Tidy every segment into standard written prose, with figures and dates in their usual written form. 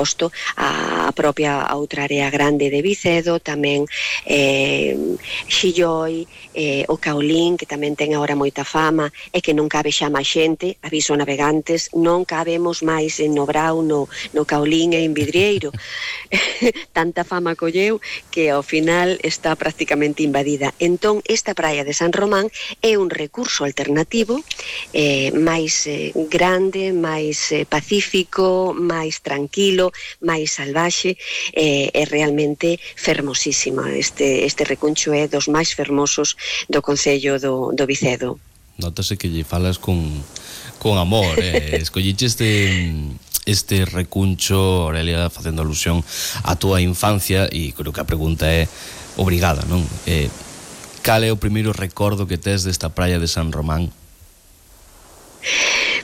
suposto, a propia outra área grande de Vicedo, tamén Xilloi, o Caolín, que tamén ten agora moita fama, e que non cabe xa máis xente, aviso navegantes, non cabemos máis en Nobrao, no Caolín e en Vidrieiro. Tanta fama colleu que ao final está prácticamente invadida. Entón, esta praia de San Román é un recurso alternativo máis grande, máis pacífico, máis tranquilo, máis salvaxe, é realmente fermosísima. Este recuncho é dos máis fermosos do concello do Vicedo. Notase que lle falas con amor, escolliche este recuncho, Aurelia, facendo alusión á túa infancia, e creo que a pregunta é obrigada, non? Cal é o primeiro recordo que tes desta praia de San Román?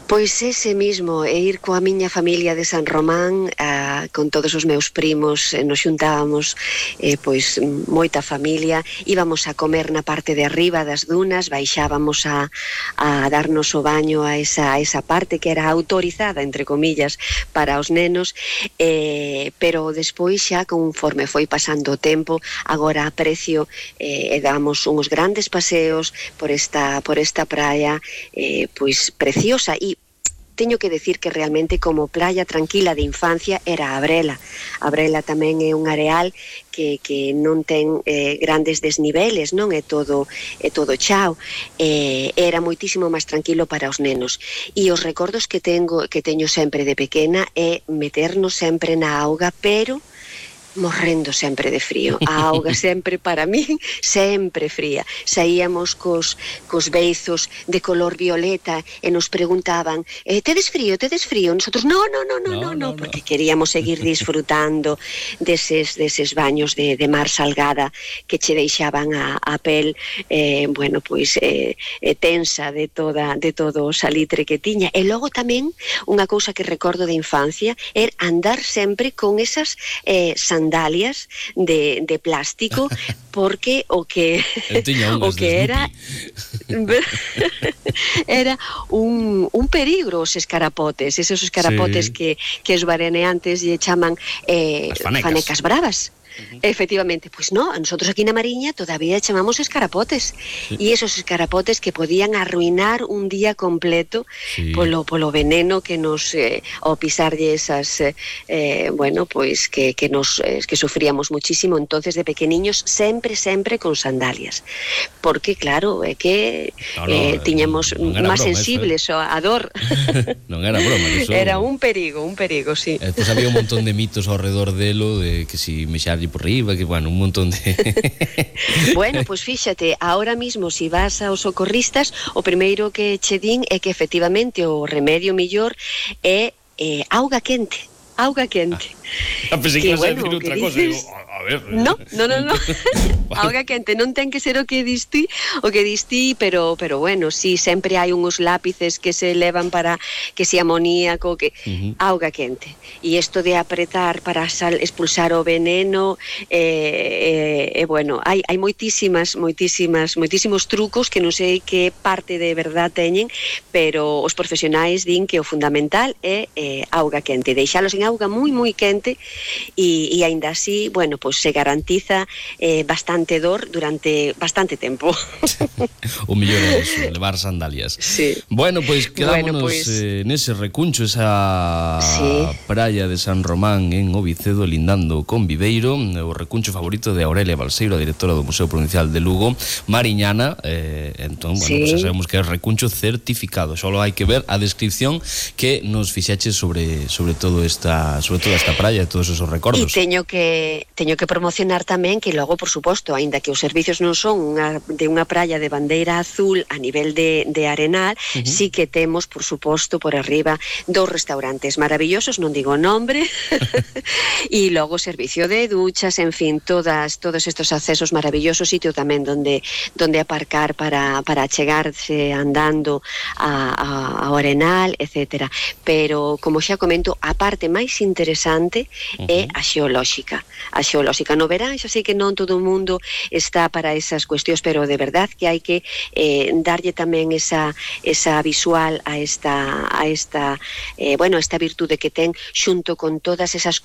Pois ese mismo, ir coa miña familia de San Román, con todos os meus primos, nos xuntábamos, pois moita familia, íbamos a comer na parte de arriba das dunas, baixábamos a darnos o baño a esa parte que era autorizada, entre comillas, para os nenos, pero despois xa, conforme foi pasando o tempo, agora aprecio e damos uns grandes paseos por esta praia, pois preciosa. E teño que decir que realmente como playa tranquila de infancia era a Brela. A Brela tamén é un areal que non ten grandes desniveles, non é todo chao. Era moitísimo máis tranquilo para os nenos. E os recordos que teño sempre de pequena é meternos sempre na auga, pero morrendo sempre de frío. A auga sempre, para mí, sempre fría. Saíamos cos beizos de color violeta e nos preguntaban, tedes frío? Nosotros, no, porque queríamos seguir disfrutando deses baños de mar salgada que che deixaban a pel, bueno, pois tensa de todo o salitre que tiña. E logo tamén, unha cousa que recordo de infancia é andar sempre con esas sandalias de plástico, porque o que era un peligro os escarapotes, esos escarapotes que os bareneantes lle chaman fanecas bravas. Efectivamente, pois no, nosotros aquí na Mariña todavía chamamos escarapotes, e esos escarapotes que podían arruinar un día completo polo veneno que nos ao pisarlle esas bueno, pois que sufríamos muchísimo. Entonces de pequeniños sempre con sandalias, porque claro, é que tiñamos máis sensibles a dor. Non era broma, eso era un perigo, sí. Pois había un montón de mitos ao redor delo, de que si mexarlle por riba, que bueno, un montón de... Bueno, pois fíxate, ahora mismo si vas aos socorristas, o primeiro que che din é que efectivamente o remedio millor é auga quente. Pensei que ibas a decir outra cosa, digo, a ver... No. Auga quente, non ten que ser o que distí, pero bueno, sí, sempre hai uns lápices que se levan para que se amoníaco, que auga quente. E isto de apretar para expulsar o veneno, bueno, hai moitísimos trucos que non sei que parte de verdad teñen, pero os profesionais din que o fundamental é auga quente, deixalos en auga moi quente, e aínda así, bueno, pois se garantiza bastante dor durante bastante tempo. O mellor é eso, levar sandalias. Sí. Bueno, pois quedámonos nese recuncho, esa praia de San Román en Ovicedo, lindando con Viveiro, o recuncho favorito de Aurelia Balseiro, a directora do Museo Provincial de Lugo, mariñana. Entón, bueno, pues sabemos que é recuncho certificado, só hai que ver a descripción que nos fixeches sobre toda esta praia e todos esos recordos. E teño que promocionar tamén que logo, por suposto, aínda que os servicios non son de unha praia de bandeira azul a nivel de arenal, sí que temos, por suposto, por arriba 2 restaurantes maravillosos, non digo o nombre, e logo servicio de duchas, en fin, todos estos accesos maravillosos, sitio tamén donde aparcar para chegarse andando ao arenal, etcétera. Pero, como xa comento, a parte máis interesante é a xeolóxica. No verán, xa sei que non todo o mundo está para esas cuestións, pero de verdad que hai que darlle tamén esa visual a esta virtude que ten, xunto con todas esas